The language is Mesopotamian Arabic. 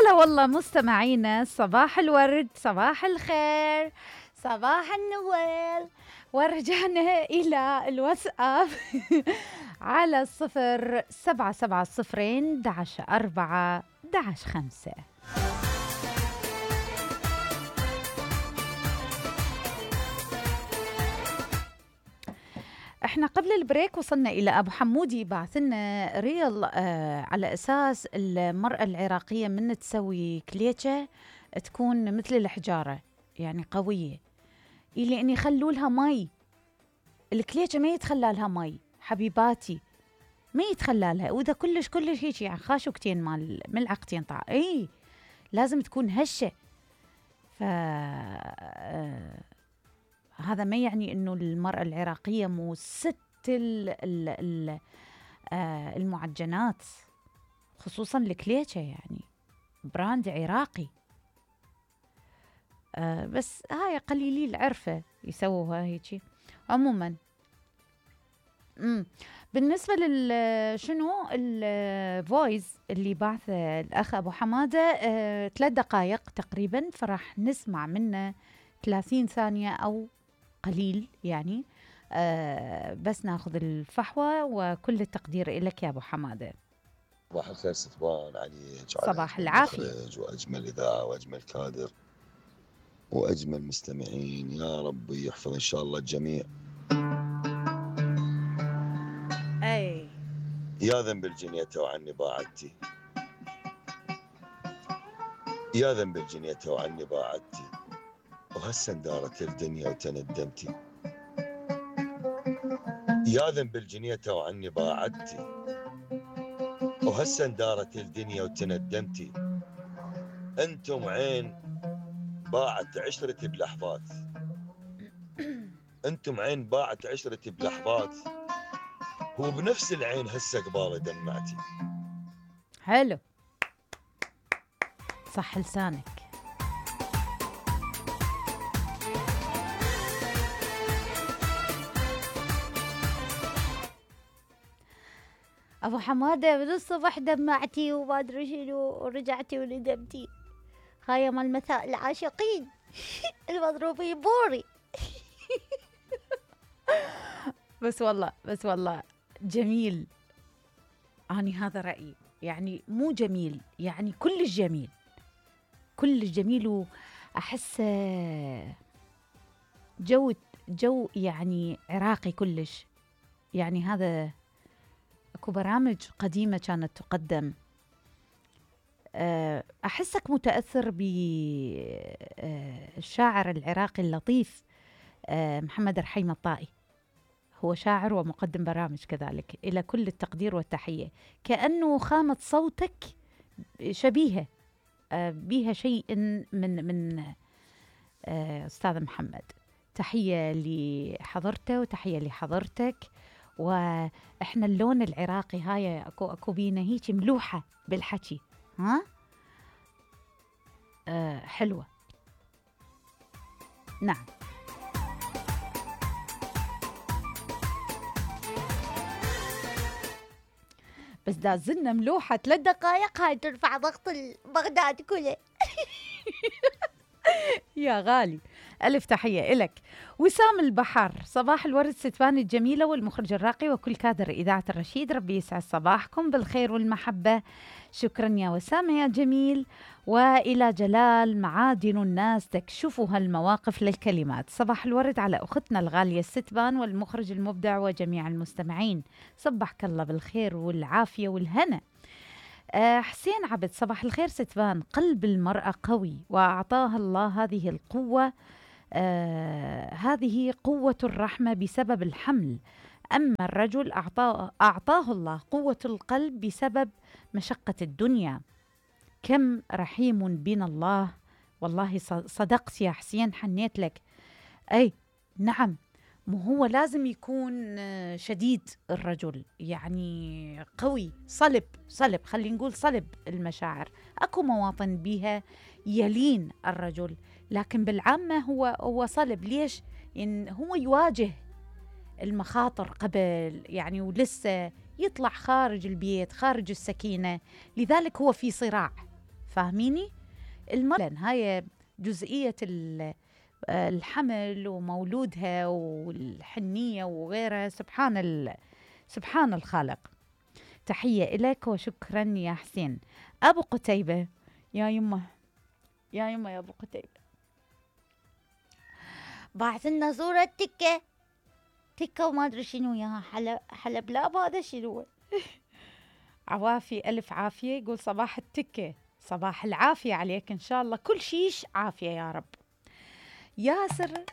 هلا والله مستمعينا، صباح الورد، صباح الخير، صباح النوال. ورجعنا إلى الواتساب على 0770 11 4 11 5. احنا قبل البريك وصلنا إلى أبو حمودي بعث لنا ريل على أساس المرأة العراقية من تسوي كليتشة تكون مثل الحجارة، يعني قوية، إلي أن يخلوا لها مي. الكليتشة ما يتخلى لها مي حبيباتي، ما يتخلى لها، وإذا كلش هيك يعني خاشوكتين مال ملعقتين طع إيه لازم تكون هشة. هذا ما يعني إنه المرأة العراقية مو ست المعجنات، خصوصاً الكليتشة، يعني براند عراقي. بس هاي قليلي العرفة يسووها هيك. عموماً بالنسبة شنو الفويس اللي بعثه الأخ أبو حمادة 3 دقائق تقريباً، فراح نسمع منه 30 ثانية أو قليل يعني. بس ناخذ الفحوى، وكل التقدير لك يا أبو حمادة. صباح الخير ستوان عليك، صباح العافية، وأجمل إذاعة وأجمل كادر وأجمل مستمعين، يا رب يحفظ إن شاء الله الجميع. أي يا ذنب الجنية وعني باعدتي، يا ذنب الجنية وعني باعدتي، وهسه اندارت الدنيا وتندمتي. يا ذنب الجنية وعني باعدتي، وهسه اندارت الدنيا وتندمتي. انتم عين باعت عشرتي بلحظات، انتم عين باعت عشرتي بلحظات، وبنفس العين هسه قبالي دمعتي. حلو، صح لسانك. أبو حمادة من الصبح دمعتي وما أدري شنو، ورجعتي وندمتي. هاي مال مساء العاشقين المضروبين بوري. بس والله جميل. أني هذا رأيي، يعني مو جميل، يعني كلش جميل، كلش جميل. وأحس جو يعني عراقي كلش. يعني هذا اكو برامج قديمة كانت تقدم، أحسك متأثر بالشاعر العراقي اللطيف محمد رحيم الطائي. هو شاعر ومقدم برامج كذلك، إلى كل التقدير والتحية. كأنه خامة صوتك شبيهة بيها شيء من أستاذ محمد. تحية لحضرته وتحية لحضرتك. وإحنا اللون العراقي هاي أكو بينا هيك ملوحة بالحكي، ها حلوة. نعم، بس دازلنا ملوحة 3 دقائق، هاي ترفع ضغط بغداد كله. يا غالي، ألف تحية إلك. وسام البحر، صباح الورد ستوان الجميلة والمخرج الراقي وكل كادر إذاعة الرشيد، ربي يسعد صباحكم بالخير والمحبة. شكرا يا وسام يا جميل. وإلى جلال، معادن الناس تكشفها المواقف للكلمات. صباح الورد على أختنا الغالية ستبان والمخرج المبدع وجميع المستمعين، صبحك الله بالخير والعافية والهنا. حسين عبد، صباح الخير ستبان، قلب المرأة قوي وأعطاها الله هذه القوة، هذه قوة الرحمة بسبب الحمل، أما الرجل أعطاه الله قوة القلب بسبب مشقة الدنيا. كم رحيم بنا الله. والله صدقت يا حسين، حنيت لك. أي نعم، مو هو لازم يكون شديد الرجل، يعني قوي، صلب خلينا نقول صلب المشاعر. أكو مواطن بيها يلين الرجل، لكن بالعامة هو صلب. ليش؟ إن هو يواجه المخاطر قبل، يعني ولسه يطلع خارج البيت، خارج السكينة، لذلك هو في صراع. فاهميني؟ هاي جزئية الحمل ومولودها والحنية وغيرها. سبحان الخالق. تحية إليك وشكرا يا حسين. أبو قتيبة، يا يمه يا أبو قتيبة، بعث لنا صورة تكة وما أدري شنو ياها، حلب لاب هذا شنو؟ عوافي ألف عافية، يقول صباح التكة، صباح العافية عليك إن شاء الله، كل شيش عافية يا رب. ياسر